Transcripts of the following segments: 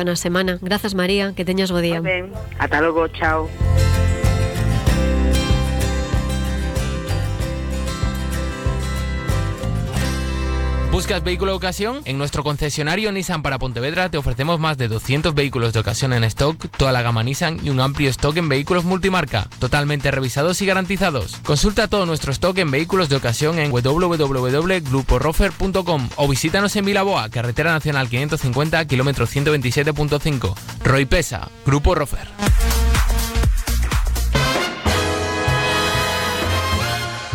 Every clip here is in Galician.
na semana. Grazas, María, que teñas bo día. Ben, ata logo, chao. ¿Buscas vehículo de ocasión? En nuestro concesionario Nissan para Pontevedra te ofrecemos más de 200 vehículos de ocasión en stock, toda la gama Nissan y un amplio stock en vehículos multimarca, totalmente revisados y garantizados. Consulta todo nuestro stock en vehículos de ocasión en www.gruporofer.com o visítanos en Vilaboa, Carretera Nacional 550, kilómetro 127.5. Roy Pesa, Grupo Rofer.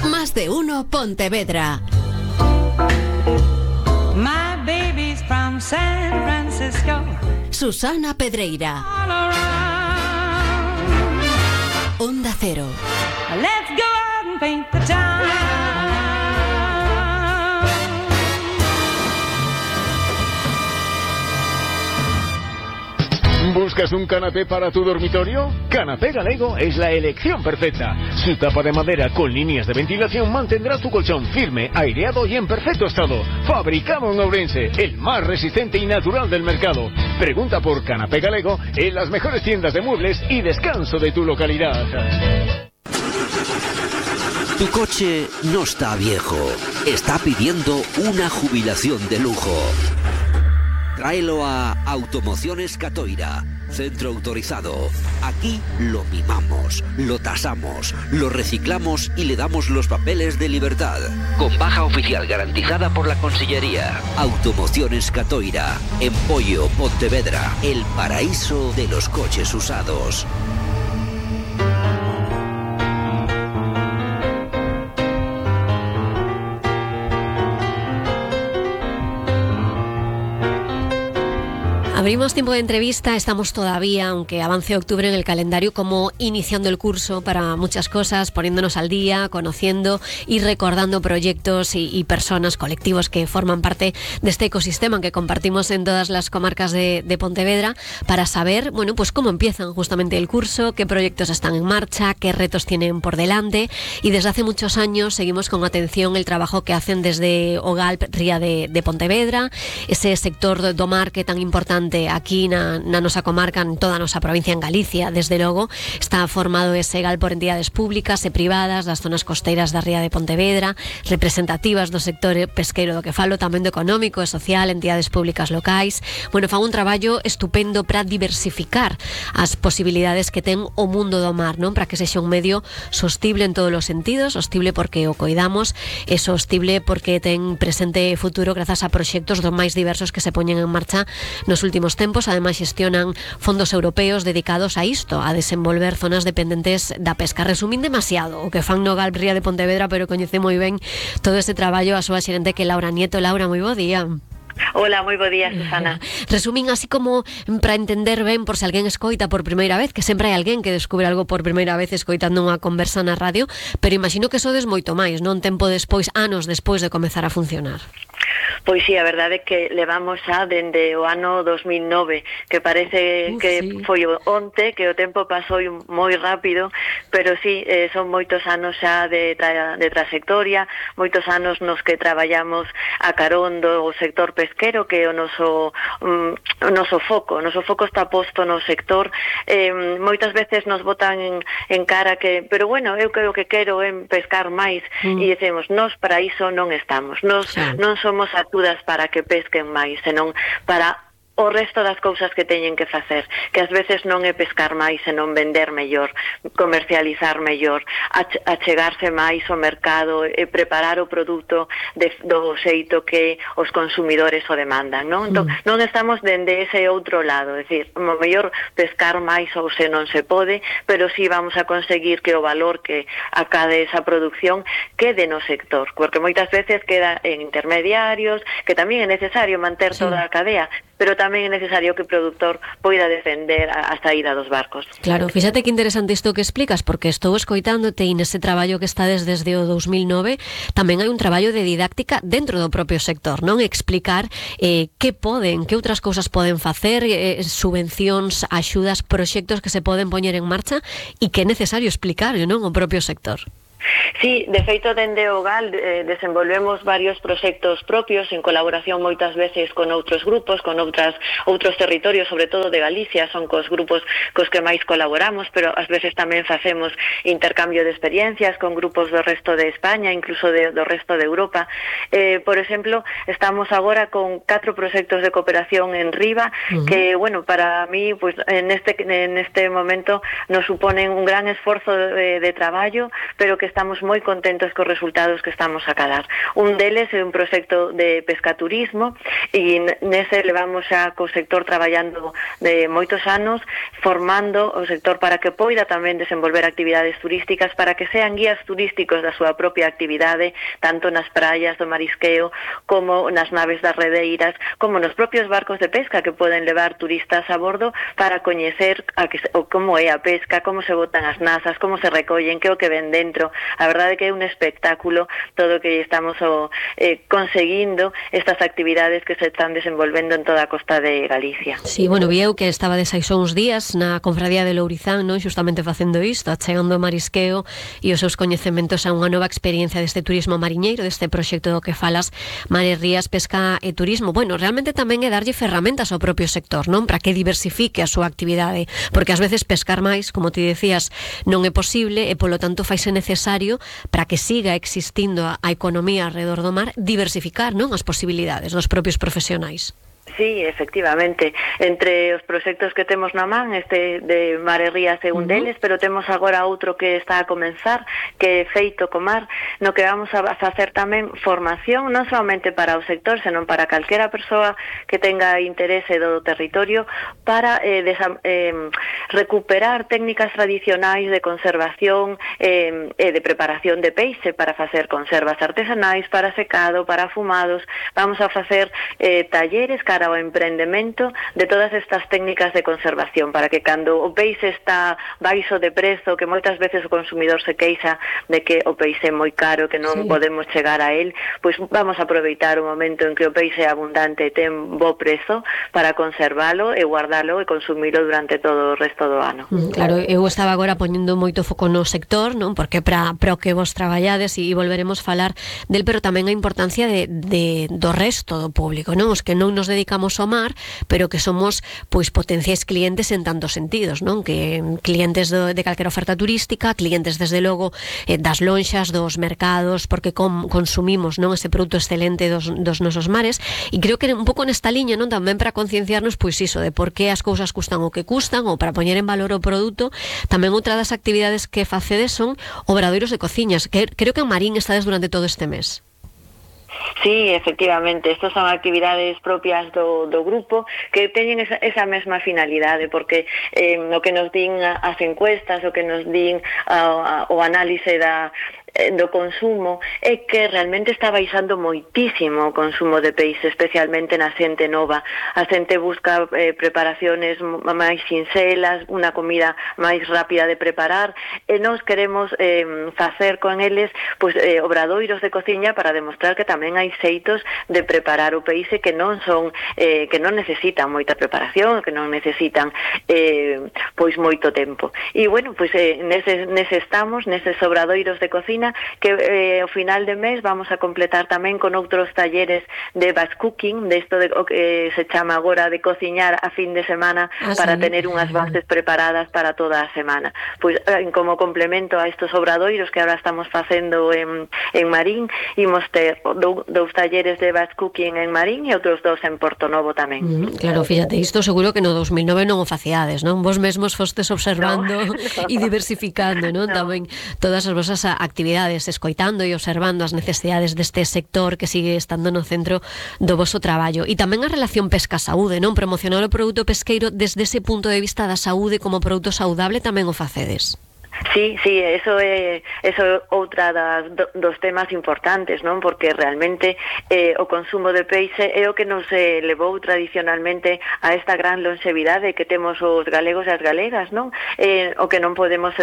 Más de uno Pontevedra. My baby's from San Francisco. Susana Pedreira. Onda Cero. Let's go out and paint the town. ¿Buscas un canapé para tu dormitorio? Canapé Galego es la elección perfecta. Su tapa de madera con líneas de ventilación mantendrá tu colchón firme, aireado y en perfecto estado. Fabricado en Ourense, el más resistente y natural del mercado. Pregunta por Canapé Galego en las mejores tiendas de muebles y descanso de tu localidad. Tu coche no está viejo, está pidiendo una jubilación de lujo. Tráelo a Automociones Catoira, centro autorizado. Aquí lo mimamos, lo tasamos, lo reciclamos y le damos los papeles de libertad. Con baja oficial garantizada por la Consellería. Automociones Catoira, en Pollo, Pontevedra, el paraíso de los coches usados. Abrimos tiempo de entrevista, estamos todavía, aunque avance octubre en el calendario, como iniciando el curso para muchas cosas, poniéndonos al día, conociendo y recordando proyectos y personas, colectivos que forman parte de este ecosistema que compartimos en todas las comarcas de Pontevedra, para saber, bueno, pues cómo empiezan justamente el curso, qué proyectos están en marcha, qué retos tienen por delante. Y desde hace muchos años seguimos con atención el trabajo que hacen desde OGALP Ría de Pontevedra, ese sector do mar que tan importante aquí na nosa comarca, en toda a nosa provincia, en Galicia, desde logo. Está formado ese GAL por entidades públicas e privadas das zonas costeiras da Ría de Pontevedra, representativas do sector pesqueiro do que falo, tamén do económico e social, entidades públicas locais. Bueno, fan un traballo estupendo para diversificar as posibilidades que ten o mundo do mar, non? Para que sexa un medio sostible en todos os sentidos, sostible porque o coidamos, e sostible porque ten presente e futuro grazas a proxectos do máis diversos que se poñen en marcha nos últimos tempos. Ademais xestionan fondos europeos dedicados a isto, a desenvolver zonas dependentes da pesca. Resumín demasiado o que fan no GALP Ría de Pontevedra, pero coñece moi ben todo ese traballo a súa xerente, que é Laura Nieto. Laura, moi bo día. Hola, moi bo día, Susana. Resumín así como para entender ben, por se alguén escoita por primeira vez, que sempre hai alguén que descubre algo por primeira vez escoitando unha conversa na radio, pero imagino que sodes moito máis, non? Tempo despois, anos despois de comezar a funcionar. Pois sí, a verdade é que levamos xa dende o ano 2009, que parece que sí, foi onte, que o tempo pasou moi rápido, pero sí, son moitos anos xa de trayectoria, moitos anos nos que traballamos a carón do sector pesquero, que é o noso foco. O noso foco está posto no sector. Moitas veces nos botan en cara que, pero bueno, eu creo que quero pescar máis, e dicemos, nós para iso non estamos, nós non somos atudas para que pesquen máis, senón para o resto das cousas que teñen que facer, que ás veces non é pescar máis, senón vender mellor, comercializar mellor, achegarse máis ao mercado e preparar o produto do xeito que os consumidores o demandan, non? Entón, non estamos dende ese outro lado, é dicir, o mellor pescar máis ou se non se pode, pero sí vamos a conseguir que o valor que acade esa producción quede no sector, porque moitas veces queda en intermediarios, que tamén é necesario manter toda a cadea, pero tamén é necesario que o produtor poida defender a saída dos barcos. Claro, fíxate que interesante isto que explicas, porque estou escoitándote e nese traballo que estades desde o 2009 tamén hai un traballo de didáctica dentro do propio sector, non? Explicar que outras cousas poden facer, subvencións, axudas, proxectos que se poden poñer en marcha e que é necesario explicar, non? O propio sector. Sí, de feito dende o GAL desenvolvemos varios proxectos propios en colaboración moitas veces con outros grupos, con outros territorios, sobre todo de Galicia, son cos grupos cos que máis colaboramos, pero ás veces tamén facemos intercambio de experiencias con grupos do resto de España, incluso do resto de Europa. Por exemplo, estamos agora con 4 proxectos de cooperación en Riva, que, bueno, para mí, pues en este momento nos suponen un gran esforzo de traballo, pero que estamos moi contentos cos resultados que estamos a cadar. Un deles é un proxecto de pescaturismo e nese levamos xa co sector traballando de moitos anos, formando o sector para que poida tamén desenvolver actividades turísticas, para que sean guías turísticos da súa propia actividade, tanto nas praias do marisqueo, como nas naves das redeiras, como nos propios barcos de pesca que poden levar turistas a bordo para coñecer como é a pesca, como se botan as nazas, como se recollen, que é o que ven dentro. A verdade é que é un espectáculo todo o que estamos conseguindo estas actividades que se están desenvolvendo en toda a costa de Galicia. Sí, bueno, vi eu que estaba de seis uns días na Confradía de Lourizán, non? Xustamente facendo isto, achegando o marisqueo e os seus coñecementos a unha nova experiencia deste turismo mariñeiro, deste proxecto do que falas, Mares, Rías, Pesca e Turismo. Bueno, realmente tamén é darlle ferramentas ao propio sector, non? Para que diversifique a súa actividade, porque ás veces pescar máis, como ti decías, non é posible e polo tanto faise necesario para que siga existindo a economía alrededor do mar, diversificar, non, as posibilidades dos propios profesionais. Sí, efectivamente. Entre os proxectos que temos na man, este de Mares, Rías é un deles, pero temos agora outro que está a comenzar, que é Feito co Mar, no que vamos a facer tamén formación, non somente para o sector, senón para calquera persoa que tenga interese do territorio, para recuperar técnicas tradicionais de conservación e de preparación de peixe, para facer conservas artesanais, para secado, para afumados. Vamos a facer talleres cara ao emprendemento de todas estas técnicas de conservación, para que cando o peixe está baixo de prezo, que moitas veces o consumidor se queixa de que o peixe é moi caro, que non podemos chegar a él, pois vamos a aproveitar o momento en que o peixe é abundante e ten bo prezo para conservalo e guardalo e consumilo durante todo o resto do ano. Claro, eu estaba agora poñendo moito foco no sector, non? Porque para o que vos traballades e volveremos falar del, pero tamén a importancia do resto do público, non? Os que non nos dedicamos ao mar, pero que somos pois potenciais clientes en tantos sentidos, non? Que clientes de calquera oferta turística, clientes desde logo das lonxas, dos mercados, porque consumimos, non, ese produto excelente dos nosos mares, e creo que un pouco nesta liña, non, tamén para concienciarnos pois iso de por que as cousas custan o que custan, ou para poñer en valor o produto. Tamén outra das actividades que facedes son obradoiros de cociñas, que creo que en Marín estades durante todo este mes. Sí, efectivamente, estas son actividades propias do grupo que teñen esa mesma finalidade, porque o que nos din as encuestas, o que nos din o análise do consumo é que realmente está baixando moitísimo o consumo de peixe, especialmente na xente nova. A xente busca preparaciones máis sinxelas, unha comida máis rápida de preparar, e nós queremos facer con eles pois obradoiros de cociña para demostrar que tamén hai xeitos de preparar o peixe que non son que non necesitan moita preparación, que non necesitan pois moito tempo. E bueno, pois nese estamos, neses obradoiros de cociña, que ao final de mes vamos a completar tamén con outros talleres de batch cooking, de isto o que se chama agora de cociñar a fin de semana para tener unhas bases preparadas para toda a semana. Pois como complemento a estos obradoiros que ahora estamos facendo en Marín, imos ter dous talleres de batch cooking en Marín e outros dos en Portonovo tamén. Claro, fíjate, isto seguro que no 2009 non o faciades, non? Vos mesmos fostes observando e diversificando, non? Tamén todas as vosas actividades, escoitando e observando as necesidades deste sector que sigue estando no centro do voso traballo. E tamén a relación pesca-saúde, non? Promocionar o produto pesqueiro desde ese punto de vista da saúde como produto saudable tamén o facedes. Sí, eso é outra dos temas importantes, non? Porque realmente o consumo de peixe é o que nos levou tradicionalmente a esta gran longevidade que temos os galegos e as galegas, non? O que non podemos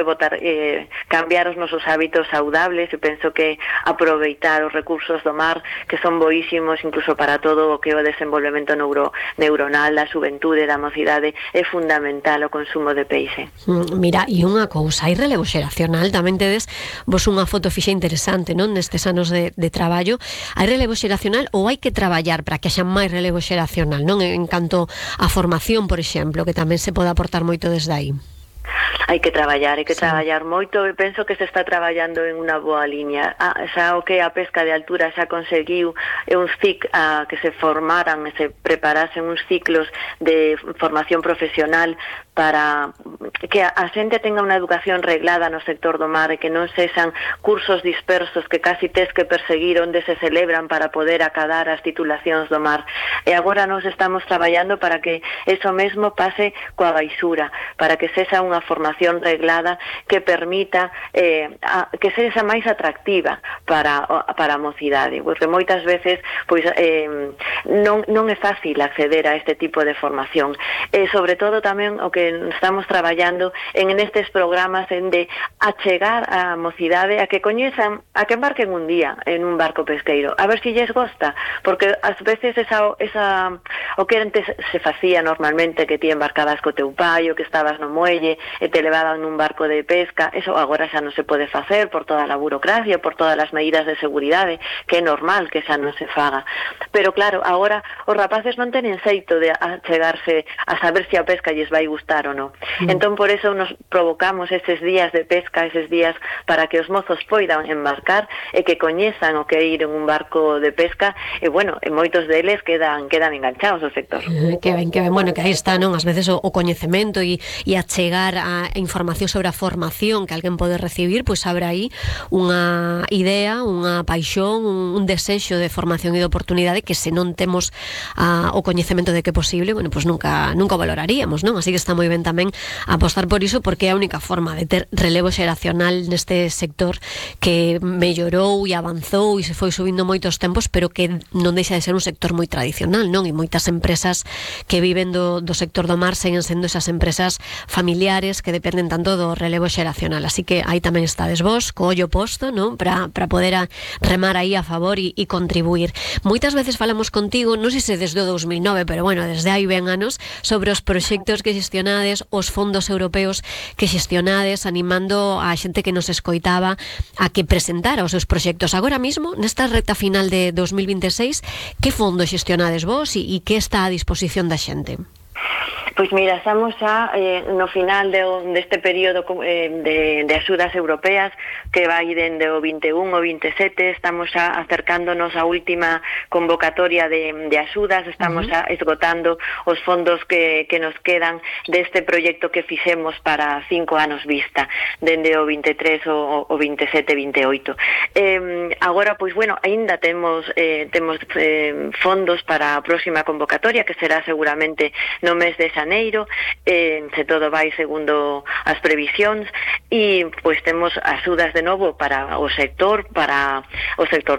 cambiar os nosos hábitos saudables, e penso que aproveitar os recursos do mar, que son boísimos incluso para todo o que é o desenvolvemento neuronal, da xuventude, da mocidade, é fundamental o consumo de peixe. Mira, e unha cousa, hai relevo xeracional, tamén tedes vos unha foto fixa interesante, non, nestes anos de traballo. Hai relevo xeracional ou hai que traballar para que haxa máis relevo xeracional, non, en canto a formación, por exemplo, que tamén se pode aportar moito desde aí? Hai que traballar moito, e penso que se está traballando en unha boa liña. Xa o que a pesca de altura xa conseguiu uns que se formaran e se preparasen uns ciclos de formación profesional para que a xente tenga unha educación reglada no sector do mar e que non sexan cursos dispersos que casi tes que perseguir onde se celebran para poder acadar as titulacións do mar. E agora nos estamos traballando para que eso mesmo pase coa baixura, para que sexa unha formación reglada que permita que sexa máis atractiva para a mocidade, porque moitas veces pois non é fácil acceder a este tipo de formación. Sobre todo tamén o que estamos traballando en estes programas de achegar a mocidade a que coñezan, a que embarquen un día en un barco pesqueiro, a ver se lles gosta, porque ás veces o que antes se facía normalmente, que ti embarcabas co teu pai, o que estabas no muelle e te levaban nun barco de pesca, eso agora xa non se pode facer por toda a burocracia, por todas as medidas de seguridade, que é normal que xa non se faga. Pero claro, agora os rapaces non tenen xeito de achegarse a saber se a pesca lles vai gustar ou non. Entón, por eso nos provocamos eses días de pesca, eses días para que os mozos poidan embarcar e que coñezan o que é ir en un barco de pesca, e bueno, moitos deles quedan enganchados ao sector. Que ben, bueno, que aí está, non? Ás veces o coñecemento e achegar a información sobre a formación que alguén pode recibir, pois abre aí unha idea, unha paixón, un desexo de formación e de oportunidade que se non temos o coñecemento de que é posible, bueno, pois nunca valoraríamos, non? Así que está moi ben tamén apostar por iso, porque é a única forma de ter relevo xeracional neste sector que mellorou e avanzou e se foi subindo moitos tempos, pero que non deixa de ser un sector moi tradicional, non? E moitas empresas que viven do sector do mar seguen sendo esas empresas familiares que dependen tanto do relevo xeracional. Así que aí tamén estades vos, co ollo posto, non? Para poder remar aí a favor e contribuir. Moitas veces falamos contigo, non sei se desde o 2009, pero bueno, desde hai ben anos, sobre os proxectos que xestionades, os fondos europeos que xestionades, animando a xente que nos escoitaba a que presentara os seus proxectos. Agora mismo, nesta recta final de 2026, que fondo xestionades vos e que está a disposición da xente? Pois mira, estamos xa no final deste período de axudas europeas que vai dende o 21 ao 27, estamos xa acercándonos á última convocatoria de axudas, estamos xa esgotando os fondos que nos quedan deste proxecto que fixemos para 5 anos vista, dende o 23 o 27-28. Agora, pois bueno, aínda temos fondos para a próxima convocatoria, que será seguramente no mes de xaneiro, se todo vai segundo as previsións, e pois temos axudas de novo para o sector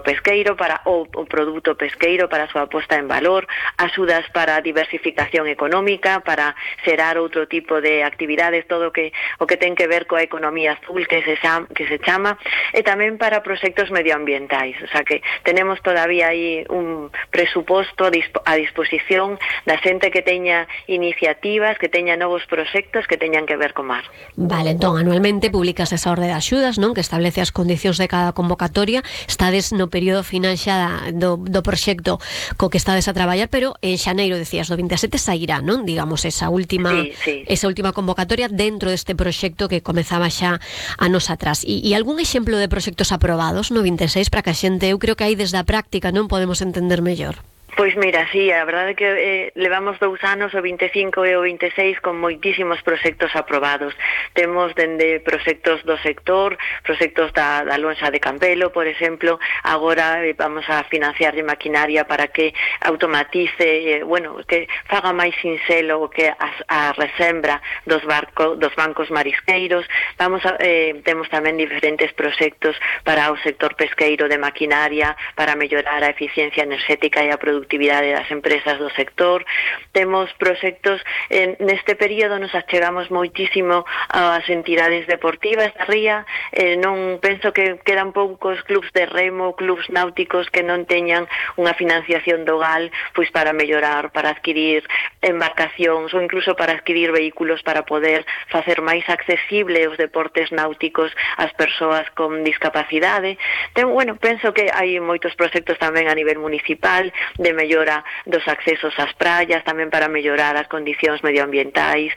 pesqueiro, para o produto pesqueiro, para a súa posta en valor, axudas para a diversificación económica, para xerar outro tipo de actividades, todo o que ten que ver coa economía azul que se chama, e tamén para proxectos medioambientais. O sea que tenemos todavía aí un presuposto a disposición da xente que teña iniciativas, que teña novos proxectos que teñan que ver co mar. Vale, entón, anualmente publicas esa orde de axudas, non? Que establece as condicións de cada convocatoria. Estades no período final xa do proxecto co que estades a traballar, pero en xaneiro, decías, do 27 sairá, non? Digamos, esa última convocatoria dentro deste proxecto que comezaba xa anos atrás. E algún exemplo de proxectos aprobados no 26 para que a xente, eu creo que aí desde a práctica non podemos entender mellor? Pois mira, sí, a verdade é que levamos 2 anos, o 25 e o 26, con moitísimos proxectos aprobados. Temos dende proxectos do sector, proxectos da lonxa de Campelo, por exemplo. Agora vamos a financiar de maquinaria para que automatice, que faga máis sinxelo o que a resembra dos bancos marisqueiros. Temos tamén diferentes proxectos para o sector pesqueiro de maquinaria, para mellorar a eficiencia enerxética e a productividade productividade das empresas do sector. Temos proxectos, neste período nos achegamos moitísimo ás entidades deportivas da ría, non penso que quedan poucos clubs de remo, clubs náuticos que non teñan unha financiación do GAL pois para mellorar, para adquirir embarcacións ou incluso para adquirir vehículos para poder facer máis accesible os deportes náuticos ás persoas con discapacidade. Penso que hai moitos proxectos tamén a nivel municipal de mellora dos accesos ás praias, tamén para mellorar as condicións medioambientais,